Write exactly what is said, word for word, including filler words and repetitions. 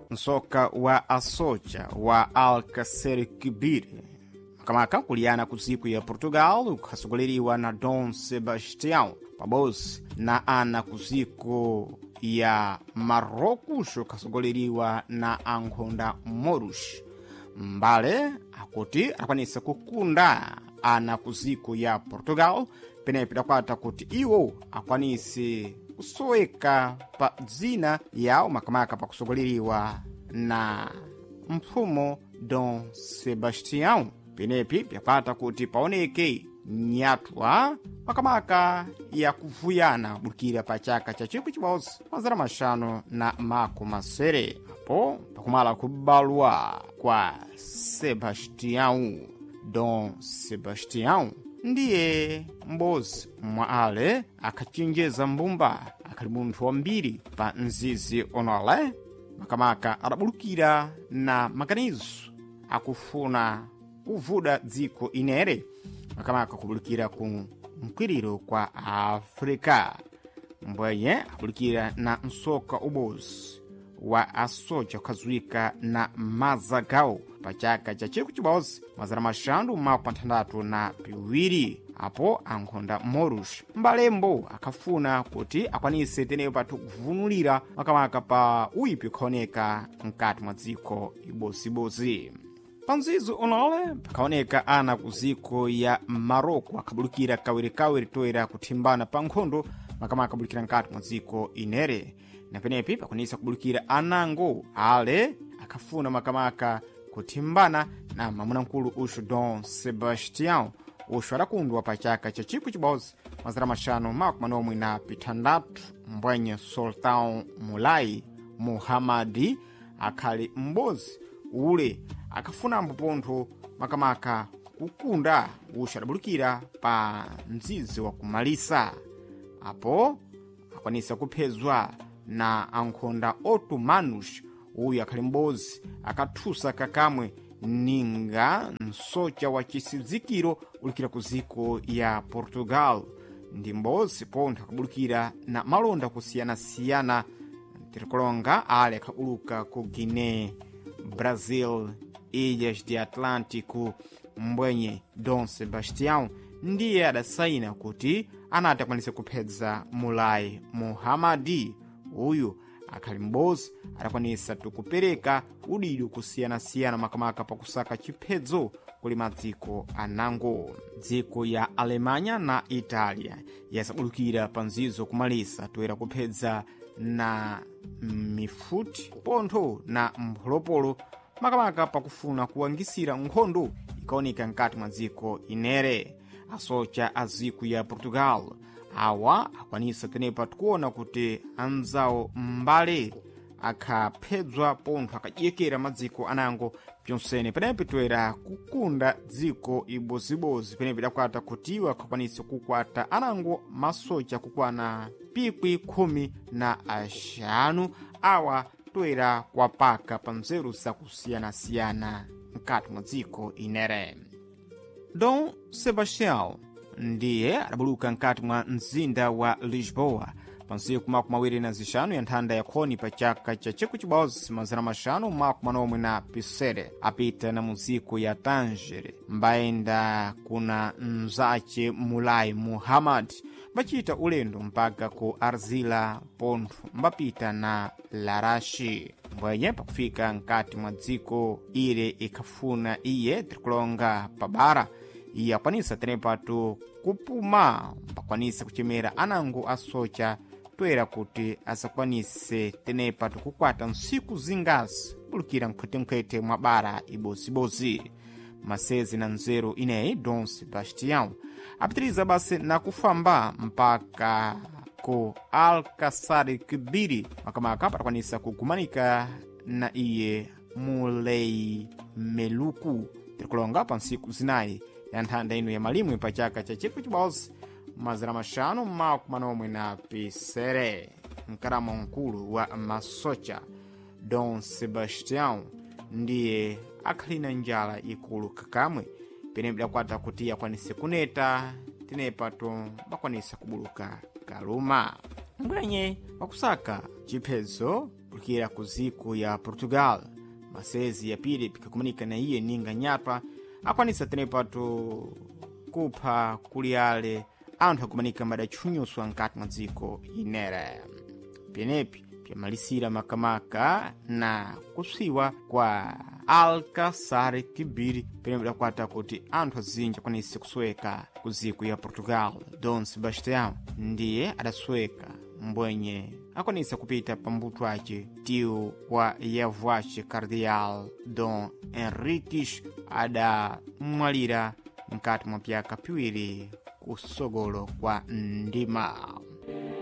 Msoka wa asocha wa Alcacer Kibir makamaka kuliyana ku dziko ya Portugal ukhasogoleriwa na Dom Sebastião pabodzi na ana ku dziko ya Marrocos ukhasogoleriwa na ankhonda Moros. Mbale akuti akwanisa kukunda ana ku dziko ya Portugal penepo idakwata kuti iwo akwanise kusoweka pa dzina yawo makamaka pakusogoleriwa na mpfumo Dom Sebastião. Penepi pyakwata kuti paoneke nyatwa makamaka yakuvuyana kubukira pa chaka cha chikwi chibodzi mazana maxanu na makumi masere apo pakumala kubalwa kwa Sebastião. Dom Sebastião ndiye m'bodzi mwa ale akachenjeza mbumba akhali munthu wambiri pa mzizi onole makamaka adabulukira na maganizo akufuna kuvuda dziko inere makamaka kubulukira ku mkwiriro kwa Afrika mbwenye abulukira na msoka ubozi wa asoja kukhazuwika na mazagawo pa chaka cha chikwi chibodzi mazana maxanu makumi athandathu na piwiri apo ankhonda Morus mbalembo akhafuna kuti akwanise teneyo pathu kuvunulira makamaka pa uyipi ukhaoneka mkati mwa dziko ibozibodzi. Panzizo onole pakhaoneka ana ku dziko ya Maroko akhabulukira kawirikawiri toera kuthimbana pa nkhondo makamaka abulukira mkati mwa dziko inere na penepi pakwanisa kubulukira anango ale akhafuna makamaka kuthimbana na mamunamkulu uxu Dom Sebastião uxu adakundwa pa chaka cha chikwi chibodzi mazana maxanu makumi manomwe na pithandatu mbwenye Sultão Mulai Muhammadi akhali m'bodzi ule akhafunambo pontho makamaka kukunda uxu adabulukira pa mzizi wa kumalisa apo akwanisa kuphezwa na ankhonda Otomanos uyu akhali m'bodzi akathusa kakamwe ninga msocha wa chisidzikiro ulukira ku dziko ya Portugal ndi m'bodzi pontho akabulukira na malonda kusiyanasiyana tirikulonga ale akhabuluka ku Guiné, Brazil, Ilhas de Atlântico. Mbwenye Dom Sebastião ndiye adasaina kuti anati akwanise kuphedza Mulai Muhammadi uyu akhali m'bodzi adakwanisa tikupereka udido kusiyanasiyana makamaka pakusaka chiphedzo kuli madziko anango. Dziko ya Alemanya na Itália yasabulukira pa nzizo kumalisa toera kuphedza na mifuti pontho na mpholopolo makamaka pakufuna kuwangisira nkhondo ikaoneka mkati mwa dziko inere. Asocha a dziko ya Portugal awa akwanisa tenepa tikuona kuti anzawo mbale akhaphedzwa pontho akadyekera madziko anango pyonsene penepi toera kukunda dziko ibozibozi penepi idakwata kuti iwo akhakwanise kukwata anango masocha kukwana pikwi khumi na axanu awa toera kwapaka pa nzeru zakusiyanasiyana mkati mwa dziko inere. Dom Sebastião ndiye adabuluka mkati mwa mzinda wa Lisboa pa ntsiku makumi awiri na zixanu ya nthanda ya khoni pa chaka cha chikwi chibodzi mazana maxanu makumi manomwe na pisere apita na muziko ya Tanger mbayenda kuna mzace Mulai Muhammad mbacita ulendo mpaka ku Arzila pontho mbapita na Larashi mbwenye pakufika mkati mwa dziko ile ikhafuna iye tirikulonga pabara iye akwanisa tenepatu kupuma mbakwanisa kuchemera anango asocha toera kuti asakwanise tenepatu kukwata ntsiku zingazi bulukira nkhwetenkhwete mwa bara ibozibodzi. Masezi na nzeru ineyi Dom Sebastião apitiriza basi na kufamba mpaka ku Alcazar Kibiri makamaka patakwanisa kugumanika na iye Mulei Meluku tirikulonga pa ntsiku zinayi ya nthanda ino ya malimwe pa chaka cha chikwi chibodzi mazana maxanu makumi manomwe na pisere. Mkaramo mkulu wa masocha Dom Sebastião ndiye akhali na njala ikulu kakamwe pene bidakwata kuti akwanise kuneta tenepato bakwanisa kubuluka kaluma mbwenye wakusaka chiphedzo Adatukira ku ziko ya Portugal. Masezi ya pili pikakumanika na iye ninga nyatwa akwanisa tenepato kupha kuli ale anthu akumanika madatchunyuswa nkati mwa dziko inere. Penepi pyamalisira makamaka na kupsiwa kwa Alcácer Quibir, pene pidakwata kuti anthu azinji akwanise kusweka ku dziko ya Portugal. Dom Sebastião ndiye adasweka mbwenye akwanisa kupita pambuto ace tio wa yavu ace Cardeal Dom Henriques adamwalira mkati mwa pyaka piwiri kusogolo kwa ndima.